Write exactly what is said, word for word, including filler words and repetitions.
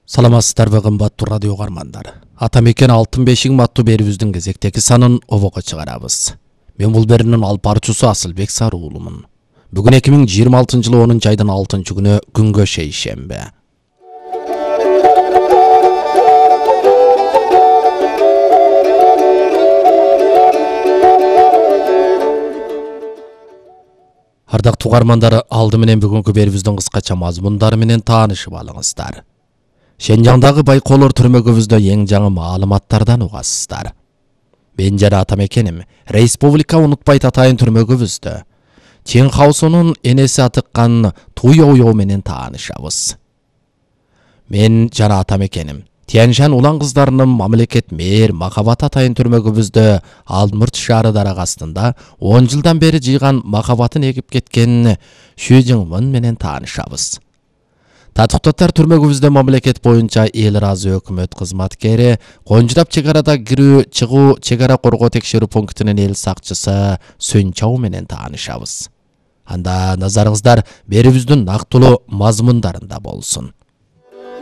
Саламатсыздарбы кымбаттуу радио угармандар. Ата мекен алтын бешик аттуу берүүбүздүн кезектеги санын обого чыгарабыз. Мен бул берүүнүн алып баруучусу Асылбек Саруулумун. Бүгүн эки миң жыйырма алтынчы жылы онунчу айдын алтынчы күнү күнгө шейшембе. Ардактуу угармандар, алды менен бүгүнкү берүүбүздүн кыскача мазмундары менен таанышып алыңыздар. Шенжаңдагы байкоолор түрмөгүбүздө эң жаңы маалыматтардан угасыздар. Мен жана ата мекеним Республика унутпайт атайын түрмөгүбүздө Чен Хаосунун энеси атыккан Туйоуйо менен таанышабыз. Мен жана ата мекеним Тяньшань улан кыздарынын мамлекет мээр Махабат атайын түрмөгүбүздө Алмурт шаары дарак астында он жылдан бери жыйган махабатын эгип кеткен Шүжиңмын менен таанышабыз. Татыктоттор түрмөгүбүздө мамлекет боюнча эл ыраазы өкмөт кызматкери, конжурап чек арада кирүү чыгуу чек ара коргоо текшерүү пунктунун эл сакчысы Сөнчау менен таанышабыз. Анда назарыңыздар берүүбүздүн нактылуу мазмундарында болсун.